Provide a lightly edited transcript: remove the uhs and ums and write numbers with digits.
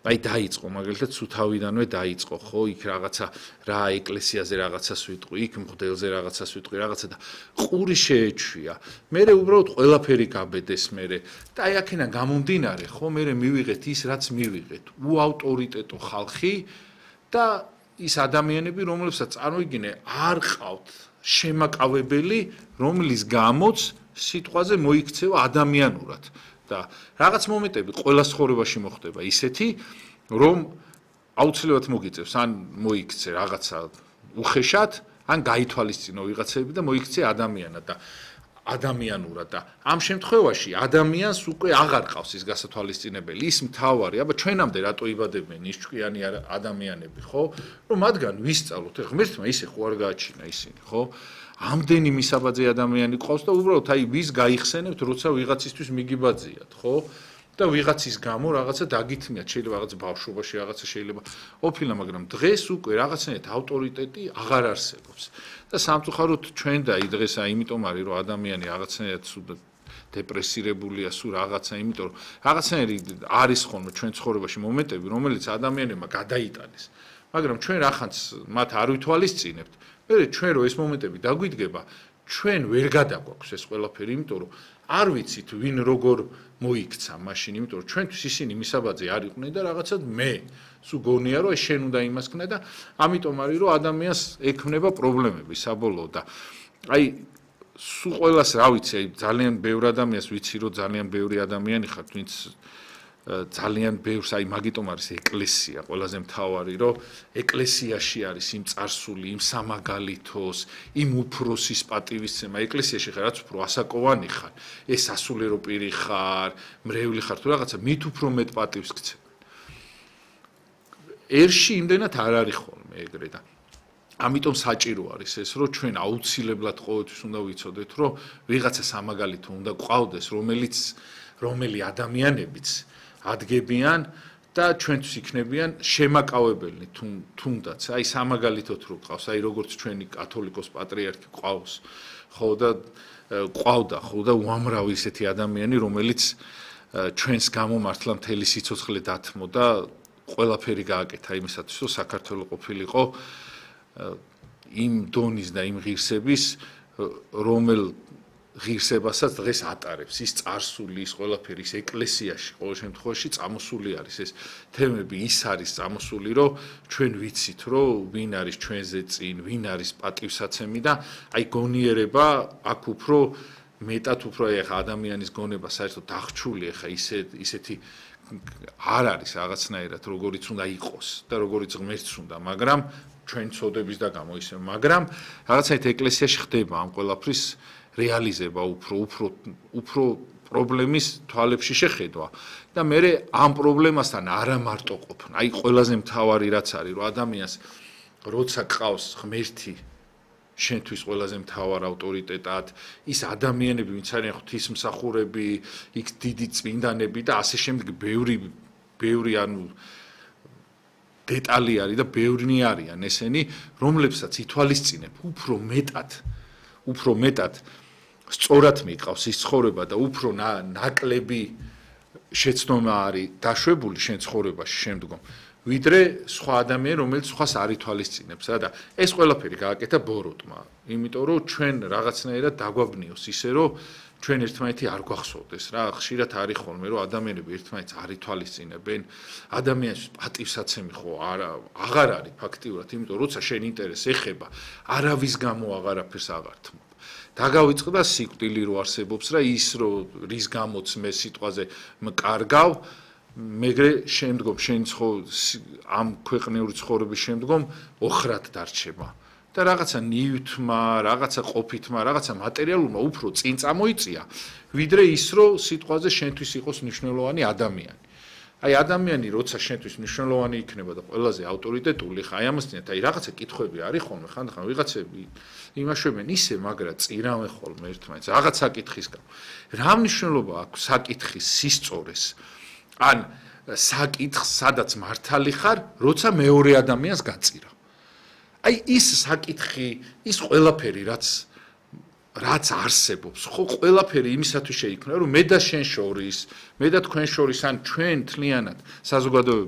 აი დაიწყო მაგალითად სუთავიდანვე დაიწყო ხო იქ რაღაცა რა ეკლესიაზე რაღაცას ვიტყვი იქ მღვდელზე რაღაცას ვიტყვი რაღაცა და ყური შეეჩვია მე უბრალოდ ყველაფერი გაბედეს მე და აი აქედან გამომდინარე ხო მე მივიღეთ ის რაც მივიღეთ უავტორიტეტო ხალხი და ის ადამიანები რომლებსაც წარმოიდგინე არ ყავთ შემაკავებელი რომლის გამოც სიტყვაზე მოიქცევა ადამიანურად და რაღაც მომენტები ყველა ცხოვრებაში მოხდება ისეთი რომ აუცილებლად მოგიწევს ან მოიქცე რაღაცა უხეშად ან გაითვალისწინო ვიღაცები და მოიქცე ადამიანად და ადამიანურად და ამ შემთხვევაში ადამიანს უკვე აღარ ყავს ის გასათვალისწინებელი ის მთავარი აბა ჩვენამდე რატო იბადებენ ის ჭკვიანი ადამიანები ხო რომ მათგან ვისწავლოთ ღმერთმა ისე ხო არ გააჩინა ისინი ხო ამდენი მისაბაძე ადამიანი ყავს და უბრალოდ აი ვის გაიხსენებთ როცა ვიღაცისთვის მიგიბაძიათ ხო და ვიღაცის გამო რაღაცა დაგითმიათ შეიძლება რაღაც ბავშვობაში რაღაცა შეიძლება ოფილა მაგრამ დღეს უკვე რაღაცნაირად ავტორიტეტი აღარ არსებობს და სამწუხაროდ ჩვენ და დღეს აიმიტომ არის რომ ადამიანი რაღაცნაირად დეპრესირებულია სულ რაღაცა იმიტომ რომ რაღაცნაირი არის ხოლმე ჩვენ ცხოვრებაში მომენტები რომელიც ადამიანებმა გადაიტანეს მაგრამ ჩვენ რახანს მათ არ ვითვალისწინებთ მე ჩვენ რო ეს მომენტები დაგვიდგება ჩვენ ვერ გადაგვაქვს ეს ყველაფერი იმიტომ რომ არ ვიცით ვინ როგორ მოიქცა მაშინ იმიტომ რომ ჩვენთვის ისინი მისაბაძე არ იყვნენ და რაღაცად მე სულ გონია რომ შენ უნდა იმას ქნა და ამიტომ არის რომ ადამიანს ექმნება პრობლემები საბოლოოდ და აი სულ ყველას რა ვიცი აი ძალიან ბევრ ადამიანს ვიცი რომ ძალიან ბევრი ადამიანი ხართ ვინც ძალიან ბევრს აი მაგიტომ არის ეკლესია ყველაზე მთავარი რომ ეკლესიაში არის იმ წარსული იმ სამაგალითოს იმ უფროსის პატივისცემა ეკლესიაში ხარ რაც უფრო ასაკოვანი ხარ ეს სასულიერო პირი ხარ მრევლი ხარ თუ რაღაცა მით უფრო მეტ პატივს გცემ ერში იმდენად არ არის ხოლმე ეგრე და ამიტომ საჭირო არის ეს რომ ჩვენ აუცილებლად ყოველთვის უნდა ვიცოდეთ რომ ვიღაცა სამაგალითო უნდა გვყავდეს რომელი ადამიანებიც ადგებიან და ჩვენთვის იქნებიან შემაკავებელი თუნდაც აი სამაგალითოდ რო ყავს აი როგორც ჩვენი კათოლიკოს პატრიარქი ყავს ხო და ყავდა ხო და უამრავი ისეთი ადამიანი რომელიც ჩვენს გამომართლა მთელი სიცოცხლე დათმო და ყველაფერი გააკეთა იმისათვის რომ საქართველო ყოფილიყო იმ დონის და იმ ღირსების რომელ ღირსებასაც დღეს ატარებს ის წარსული ის ყველაფერი ის ეკლესიაში ყოველ შემთხვევაში წამოსული არის ეს თემები ის არის წამოსული რომ ჩვენ ვიცით რომ ვინ არის ჩვენზე წინ ვინ არის პატივსაცემი და აი გონიერება აქ უფრო მეტად უფრო ეხა ადამიანის გონება საერთოდ დახჩული ეხა ისეთი არ არის რაღაცნაირად როგორიც უნდა იყოს და როგორიც ღმერთს უნდა მაგრამ ჩვენ წოდების და გამო ისე მაგრამ რაღაცნაირად ეკლესიაში ხდება ამ ყველაფრის რეალიზება უფრო პრობლემის თვალებში შეხედვა და მე ამ პრობლემასთან არა მარტო ყოფნა აი ყველაზე მთავარი რაც არის რომ ადამიანს როცა ყავს ღმერთი შენთვის ყველაზე მთავარ ავტორიტეტად ის ადამიანები ვინც არიან ღვთისმსახურები იქ დიდი წმინდანები და ასე შემდეგ ბევრი ანუ დეტალი არის და ბევრნი არიან ესენი რომლებსაც ითვალისწინებ უფრო მეტად სწორად მიყავს ის ცხოვრება და უფრო ნაკლები შეცდომა არის დაშვებული შენ ცხოვრებაში შემდგომ ვიდრე სხვა ადამიანი რომელიც სხვას არ ითვალისწინებს და ეს ყველაფერი გააკეთა ბოროტმა იმიტომ რომ ჩვენ რაღაცნაირად დაგვაბნიოს ისე რომ ჩვენ ერთმანეთი არ გვახსოვდეს რა ხშირად არის ხოლმე რომ ადამიანები ერთმანეთს არ ითვალისწინებენ ადამიანის პატივსაცემი ხო აღარ არის ფაქტიურად იმიტომ როცა შენ ინტერესს ეხება არავის გამო აღარაფერს აღარ თმობ დაგავიწყდა სიკვდილი რო არსებობს რა ის რომ რის გამოც მე სიტყვაზე მკარგავ მეგრე შემდგომ შენ ამ ქვეყნიური ცხოვრების შემდგომ ოხრად დარჩება და რაღაცა ნივთმა, რაღაცა ყოფითმა, რაღაცა მატერიალურმა უფრო წინ წამოიწია, ვიდრე ის რომ სიტყვაზე შენთვის იყოს მნიშვნელოვანი ადამიანი. აი ადამიანი როცა შენთვის მნიშვნელოვანი იქნება და ყველაზე ავტორიტეტული, ხა აი ამასთანავე აი რაღაცა კითხვები არის ხოლმე, ხანდახან ვიღაცები იმაშვებენ ისე, მაგრამ წირავენ ხოლმე ერთმანეთს, რაღაც საკითხის გამო. რა მნიშვნელობა აქვს საკითხის სისწორეს? ან საკითხს სადაც მართალი ხარ, როცა მეორე ადამიანს გაწირავ. აი ის საკითხი, ის ყველაფერი რაც არსებობს, ხო ყველაფერი იმისათვის შეიქმნა, რომ მე და შენ შორის, მე და თქვენ შორის ან ჩვენ თლიანად საზოგადოება